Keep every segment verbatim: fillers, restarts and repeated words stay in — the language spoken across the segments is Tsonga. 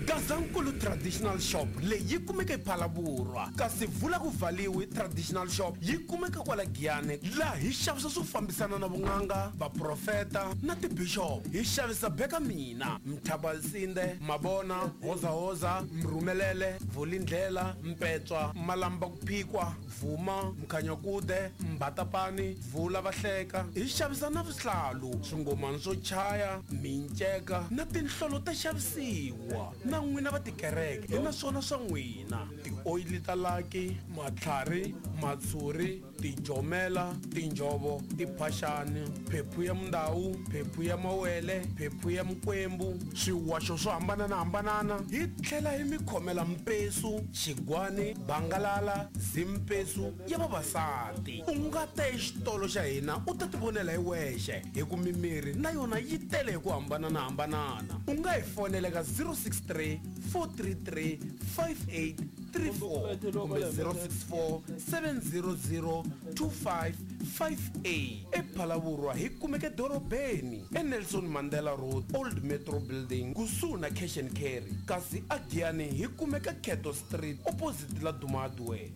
Gazankulu Traditional Shop leyi yi kumeka ePhalaborwa, kasi Vula ku Valiwi Traditional Shop yi kumeka kwala Giyani, laha hi xavisa swo fambisana na vun'anga, vaprofeta na tibishop. Hi xavisa Beka Mina, Mthabalsinde, Mabona, Hozahoza, Mrhumelele, Vulindlela, Mpetswa, Malamba ku Phikwa, Vuma, Mkhanyakude, Mbatapani, Vula Vahleka. Hi xavisa na vuhlalu, swingomani swo chaya, minceka na tinhlolo ta xavisiwa. Na n'wina va tikereke hi na swona swa n'wina, tioyili ta laki, matlhari, matshuri, tijomela, tinjhovo, tiphaxani, phephu ya mundawu, phephu ya mawele, phephu ya mikwembu, swiwaxo swo hambananahambanana. Hi tlhela hi mi khomela mpesu, xigwani, bangalala, zimpesu ya vavasati. U nga ta exitolo xa hina u ta tivonela hi wexe, hi ku mimiri na yona yi tele hi ku hambananahambanana. U nga hi fonela ka zero six three four three three five eight three four kumbe zero six four seven zero zero two five five eight. ePhalaborwa hi kumeka edorobeni eNelson Mandela Road, Old Metro Building, kusuhi na Cash and Carry, kasi aGiyani hi kumeka Keto Street opposite la Duma Hardware.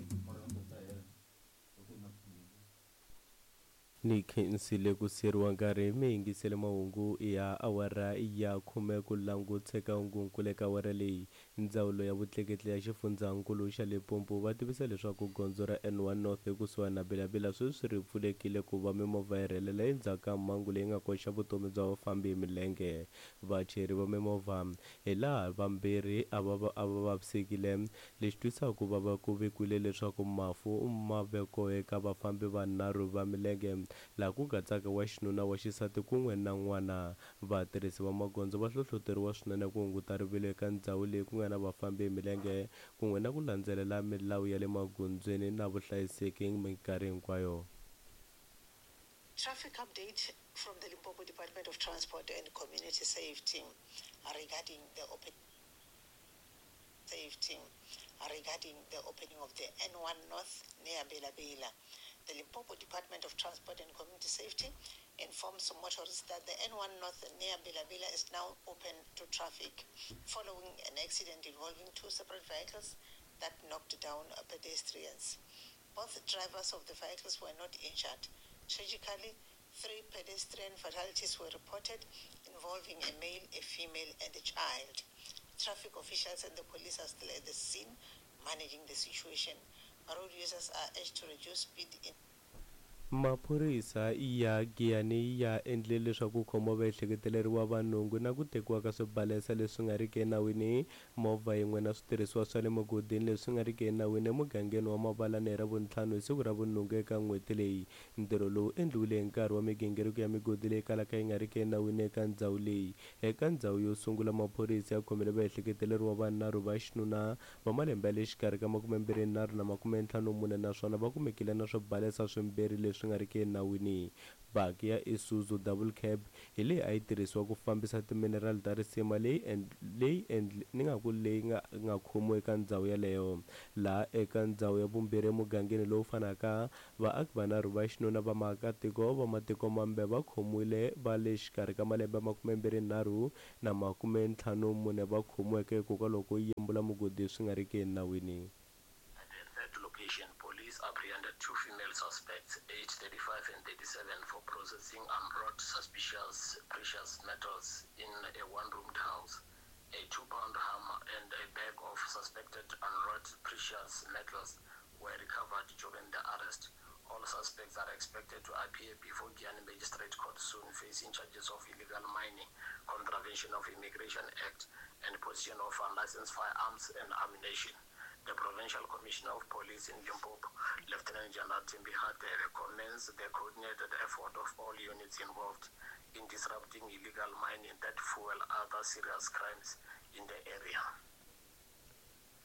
Ni khensile ku siriwa nkarhi mi yingisele mahungu ya awara ya khume ku languteka hungunkulu eka awara leyi. Ndzawulo ya vutleketli ya xifundzankulu xa Limpopo va tivisa leswaku gondzo ra N one North ekusuhani na Bela-Bela sweswi ri pfulekile ku va mimovha yi rhelela endzhaku ka mhangu leyi nga koxa vutomi bya vafambi hi milenge. Vachayeri va mimovha hi laha vambirhi a va a va vavisekile, lexi twisaka ku vava ku vikwile leswaku mafu ma ve kona eka vafambi vanharhu va milenge, laha ku katsaka wa xinuna, wa xisati kun'we na n'wana. Vatirhisi va magondzo va hlohloteriwa swinene ku hunguta rivilo eka ndhawu leyi ku nga na vafambi hi milenge kun'we na ku landzelela milawu ya le magondzweni na vuhlayiseki minkarhi hinkwayo. Traffic update from the Limpopo Department of Transport and Community Safety regarding the open safety regarding the opening of the N one North near Bela-Bela. The Limpopo Department of Transport and Community Safety informs motorists that the N one North near Bela-Bela is now open to traffic following an accident involving two separate vehicles that knocked down pedestrians. Both drivers of the vehicles were not injured. Tragically, three pedestrian fatalities were reported involving a male, a female, and a child. Traffic officials and the police are still at the scene managing the situation. Road users are urged to reduce speed in Maphorisa ya Giyani ya endle leswaku khombo va ehleketeleriwa vanhungu na ku tekiwa ka swibalesa leswi nga riki enawini, movha yin'we na switirhisiwa swa le mugodini leswi nga riki enawini emugangeni wa Mabalani hi Ravuntlhanu hi siku ra vunhungu eka n'hweti leyi. Ntirho lowu endliwile hi nkarhi wa migingiriko ya migodi leyi kalaka yi nga riki enawini eka ndhawu leyi. Eka ndhawu yo sungula, maphorisa ya khomile vaehleketeleriwa vanharhu va xinuna va malembe ya le xikarhi ka makumembirhi nharhu na makumentlhanu mune, naswona va kumekile na swibalesa swimbirhi leswi nga riki enawini. Baki ya Isuzu double cab hi leyi a yi tirhisiwa ku fambisa timinerali ta risima leyi leyi ni nga ku leyi nga nga khomiwa eka ndhawu yeleyo. Laha eka ndhawu ya vumbirhi emugangeni lowu fanaka, vaaki vanharhu va xinuna va maakatiko va matiko mambe va khomiwile va le xikarhi ka malembe makumembirhi nharhu na makumentlhanu mune va khomiweke hikokwalaho ko yembula mugodi swi nga riki enawini. Location, police apprehended two female suspects, aged thirty-five and thirty-seven, for processing unwrought suspicious precious metals in a one-roomed house. A two-pound hammer and a bag of suspected unwrought precious metals were recovered during the arrest. All suspects are expected to appear before Giyani Magistrate Court soon, facing charges of illegal mining, contravention of Immigration Act, and possession of unlicensed firearms and ammunition. The Provincial Commissioner of Police in Limpopo, Lieutenant General Thembi Hadebe, commends the coordinated effort of all units involved in disrupting illegal mining that fuel other serious crimes in the area.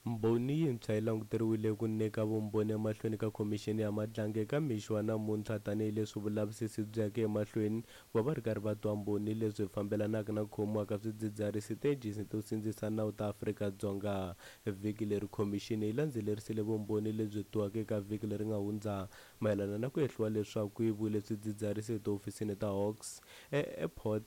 Mbhoni yintshwa yi languteriwile ku nyika vumbhoni emahlweni ka khomixini ya Madlanga eka mixo wa namuntlha tanihileswi vulavisisi byi yaka emahlweni ku va va ri karhi va twa mbhoni leswi fambelanaka na ku khomiwa ka swidzidziharisi tiejensi to sindzisa nawu ta Afrika-Dzonga. Vhiki leri khomixini yi landzelerisile vumbhoni lebyi twiwaka eka vhiki leri nga hundza mayelana na ku hehliwa leswaku ku yiviwile swidzidziharisi etihofisini ta Hawks eAirport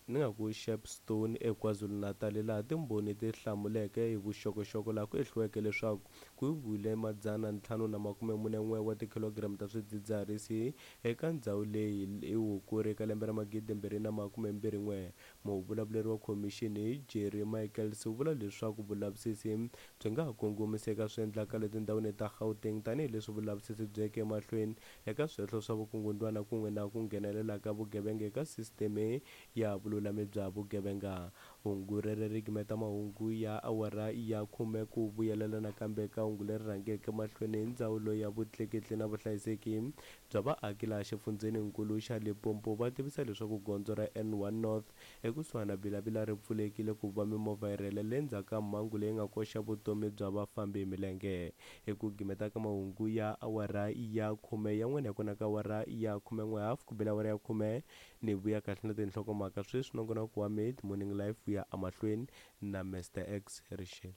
ni nga ku Shepstone eKwaZulu-Natal, laha timbhoni ti hlamuleke hi vuxokoxoko laha ku ehliweke leswaku ku yiviwile madzana ntlhanu na makume mune n'we wa tikhilogiramu ta swidzidziharisi eka ndzhawu leyi hi Hukuri eka lembe ra magidi mbirhi na makume mbirhi n'we. Muvulavuleri wa khomixini Jerry Michaels u vula leswaku vulavisisi byi nga ha kongomisa eka swiendlakalo etindhawini ta Gauteng tanihileswi vulavisisi byi yeke emahlweni eka swihehlo swa vukungundwana kun'we na ku nghenelela ka vugevenga eka sisiteme ya vululami bya vugevenga. Hungu rero ri gimeta mahungu ya awara ya khume. Ku vuyelela nakambe ka hungu leri rhangeke mahlweni hi ndzawulo ya vutleketli na vuhlayiseki bya vaaki laha xifundzheninkulu xa Limpopo va tivisa leswaku gondzo ra N one North ekusuhani na Bila-Bila ri pfulekile ku va mimovha yi rhelela endzhaku ka mhangu leyi nga koxa vutomi bya vafambi hi milenge. Hi ku gimeta ka mahungu ya awara ya khume yan'wana ya kona ka awara ya khume n'we hafu ku bela awara ya khume ni vuya kahle na tinhlokomhaka sweswi nongonoko wa Mid Morning Life ya emahlweni na Mister X Rixile.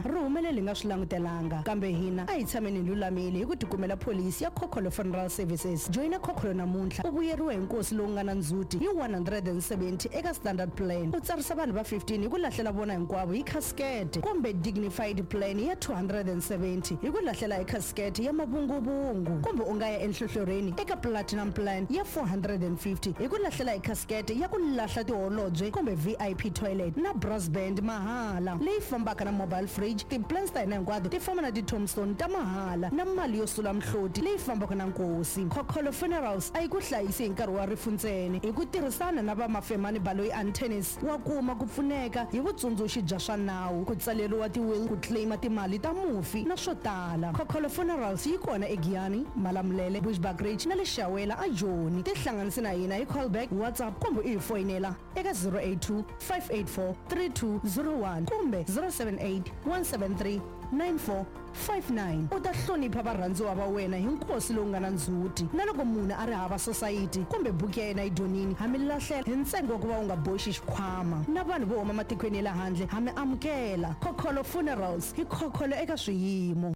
Ri humelele hi nga swi langutelanga, kambe hina a hi tshameni hi lulamile hi ku tikumela pholisi ya Khokholo Funeral Services. Joyina Khokholo namuntlha u vuyeriwe hi nkosi lowu nga na ndzhuti hi one hundred and seventy eka standard plan, u tsarisa vanhu va fifteen hi ku lahlela vona hinkwavo hi casket, kumbe dignified plan ya two hundred and seventy hi ku lahlela hi casket ya mavunguvungu, kumbe u nga ya enhlohlorhini eka platinum plan ya four hundred and fifty hi ku lahlela hi casket ya ku lahla tiholobye kumbe V I P toilet na brass band mahala leyi fambaka na mobile fridge. Ti-plans ta hina hinkwato ti famba na ti-tombstone ta mahala na mali yo sula mihloti leyi fambaka na nkosi. Khokholo Funerals a yi ku hlayisi hi nkarhi wa rifu ntsena, hi ku tirhisana na va Mafemani Baloyi and Tennis wa kuma ku pfuneka hi vutsundzuxi bya swa nawu, ku tsaleriwa ti-will, ku claima timali ta mufi na swo tala. Khokholo Funerals yi kona eGiyani, Malamulele, Bushbuckridge na le Shawela a Joni. Tihlanganise na hina hi callback, WhatsApp kumbe u hi foyinela eka zero eight two, five eight four, three two zero one kumbe zero seven eight, one seven three, nine four five nine. U ta hlonipha varhandziwa va wena hi nkosi lowu nga na ndzhuti. Na loko munhu a ri hava society kumbe buku ya yena yi dyonini, ha mi lahlela hi ntsengo wa ku va u nga boxi xikhwama. Na vanhu vo huma matikweni ya le handle ha mi amukela. Khokholo Funerals hi khokholo eka swiyimo.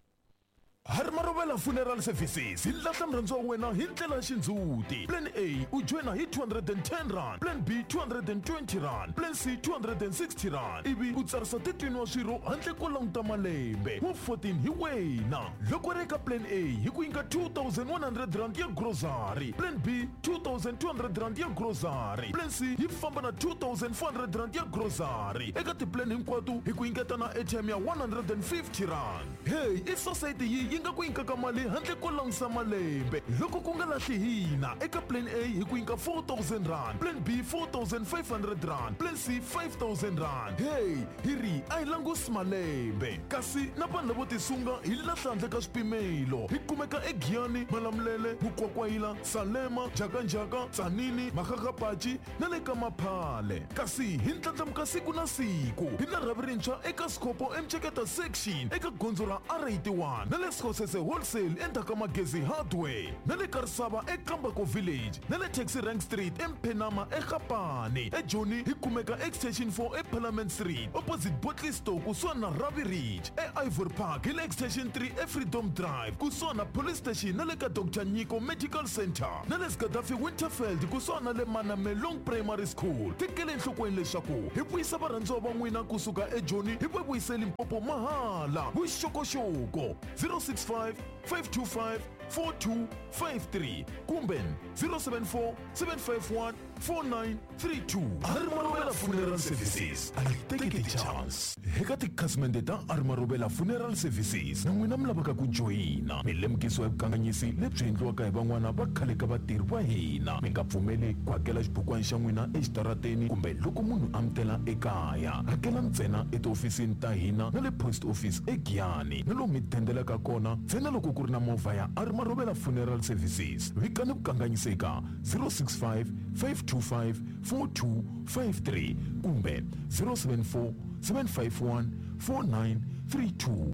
Hari Marovela Funeral Services hi lahla murhandziwa wa wena hi ndlela ya xindzhuti. Plan A u joyina hi two hundred and ten rand, Plan B two hundred and twenty rand, Plan C two hundred and sixty rand, ivi u tsarisa thirteen wa swirho handle ko languta malembe wa fourteen hi wena. Loko ri eka Plan A hi ku nyika two thousand one hundred rand ya grocery, Plan B two thousand two hundred rand ya grocery, Plan C yi famba na two thousand four hundred rand ya grocery. Eka ti-plan hinkwato hi ku nyiketa na airtime ya one hundred and fifty rand. Hey, i society yi yi nga ku nyikaka mali handle ko langusa malembe. Loko ku nga lahli hina eka Plan A hi ku nyika four thousand rand, Plan B four thousand five hundred rand, Plan C five thousand rand. Hey, hi ri a hi langusi malembe. Kasi na vanhu lavo tisunga hi lahla handle ka swipimelo. Hi kumeka eGiyani, Malamulele, Mukwakwayila, Salema, Jakanjaka, Tsanini, Makgakgapachi na le ka Maphale. Kasi hi ndlandlamuka siku na siku. Hi na rhavi rintshwa eka Sikopo eMceketa section eka gondzo ra R eighty-one na le Skhosese Wholesale endzhaku ka Magezi Hardware na le Karisava eKambako Village na le Taxi Rank Street eMphenama eGapane. eJoni hi kumeka Extension four eParliament Street opposite Botley Store kusuhani na Ravi Ridge. E-Ivory Park hi le Extension three eFreedom Drive kusuhani na Police Station na le ka Doctor Nyiko Medical Center na le Gaddafi Winterfeld kusuhani na le Manamelong Primary School. Tekele enhlokweni leswaku hi vuyisa varhandziwa va n'wina kusuka eJoni hi va vuyise Limpopo mahala. Vuxokoxoko zero six five, five two five, four two five three kumbe zero seven four, seven five one, four nine three two. Hari Marovela Funeral Services a yi teki ti-chance. Eka tikhasimende ta Hari Marovela Funeral Services na n'wina mi lavaka ku joyina, mi lemukisiwa hi vukanganyisi lebyi endliwaka hi van'wana va khale ka vatirhi va hina. Mi nga pfumeli ku hakela xibukwana xa n'wina exitarateni kumbe loko munhu a mi tela ekaya. Hakela ntsena etihofisini ta hina na le post office eGiyani na lomu mi dendelaka kona ntsena loko ku ri na movha ya Hari Marovela Funeral Services. Vikani vukanganyisi eka zero six five, five two five, four two five three kumbe zero seven four, seven five one, four nine three two.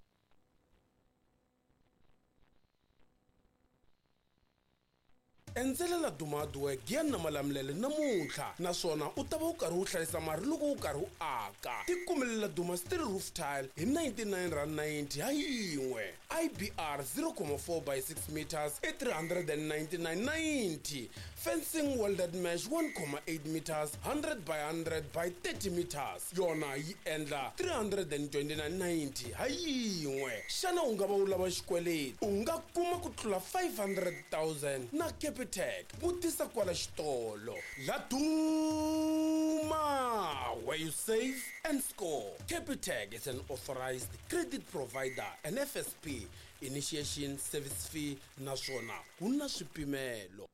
Endzela Laduma Hardware Giyani na Malamulele namuntlha, naswona u ta va u karhi u hlayisa mali loko u karhi u aka. Tikumele Laduma steel roof tile hi ninety-nine rand ninety ha yin'we, I B R zero point four by six meters i three hundred ninety-nine ninety, fencing welded mesh one point eight meters, one hundred by one hundred by thirty meters, yona yi endla three hundred twenty-nine ninety ha yin'we. Xana u nga va u lava xikweleti? U nga kuma ku tlula five hundred thousand na Capitec. Vutisa kwala xitolo. Laduma, where you save and score. Capitec is an authorized credit provider and F S P initiation service fee, naswona ku na swipimelo.